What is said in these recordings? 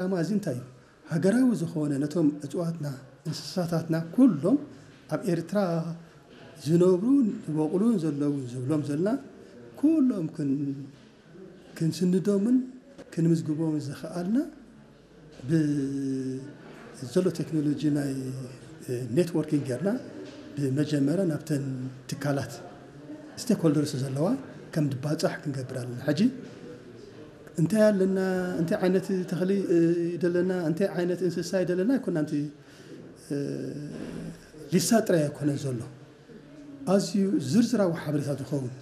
ዓላማ እዚ እንታይ እዩ? ሃገራዊ ዝኾነ ነቶም እፅዋትና፣ እንስሳታትና ኩሎም ኣብ ኤርትራ ዝነብሩ፣ ዝበቑሉን ዘለውን ዝብሎም ዘለና ኩሎም ክን-፣ ክንስንዶምን ክንምዝግቦምን ዝኸኣልና ብዘሎ ቴክኖሎጂ ናይ ኔትወርኪንግ ጌርና ብመጀመርያ ናብተን ትካላት ስቴክሆልደርስ ዘለዋ ከም ድባፃሕ ክንገብር ኣለና። ሕጂ እንታይ ኣለና፣ እንታይ ዓይነት ተኽሊ ደለና፣ እንታይ ዓይነት እንስሳ ደለና ኣይኮና። ንቲ ሊሳ ጥራይ ኣይኮነ ዘሎ፣ ኣዝዩ ዝርዝራዊ ሓበሬታ ዝኸውን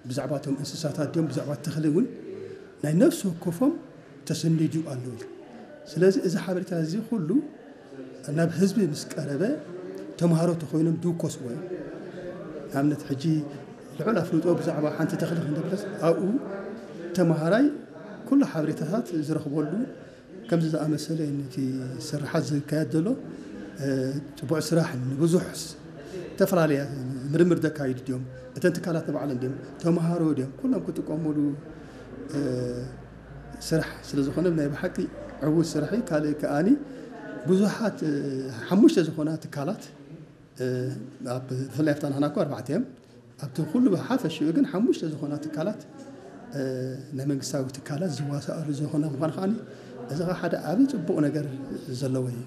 ብዛዕባ እቶም እንስሳታት ድዮም ብዛዕባ ተኽሊ እውን ናይ ነፍሲ ወከፎም ተሰኒዱ ኣለዉ። ስለዚ እዚ ሓበሬታ እዚ ኩሉ ናብ ህዝቢ ምስ ቀረበ ተምሃሮ ተኮይኖም ድውከስዎ እዮም። ንኣብነት ሕጂ ልዑል ኣፍልጦ ብዛዕባ ሓንቲ ተኽሊ ክንደብለስ ኣብኡ ተምሃራይ ኩሉ ሓበሬታታት ዝረኽበሉ ከምዚ ዝኣመሰለ ነቲ ስርሓት ዝካየድ ዘሎ ፅቡዕ ስራሕ ንብዙሕ ዝተፈላለያ ምርምር ዘካይዱ ድዮም፣ እተን ትካላት ንባዕለን ድዮም፣ ተምሃሮ ድዮም፣ ኩሎም ክጥቀሙሉ ስራሕ ስለ ዝኾነ ናይ ብሓቂ ዕዉት ስራሕ እዩ። ካልእ ከኣኒ ብዙሓት ሓሙሽተ ዝኾና ትካላት ብፍላይ ኣብታ ናህና እኮ ኣርባዕተ እዮም። ኣብቲ ኩሉ ብሓፈሽኡ ግን ሓሙሽተ ዝኾና ትካላት ናይ መንግስታዊ ትካላት ዝዋሳኣሉ ዝኾነ ምዃኑ ከኣ እዚ ኸዓ ሓደ ዓቢ ጽቡቕ ነገር ዘለዎ እዩ።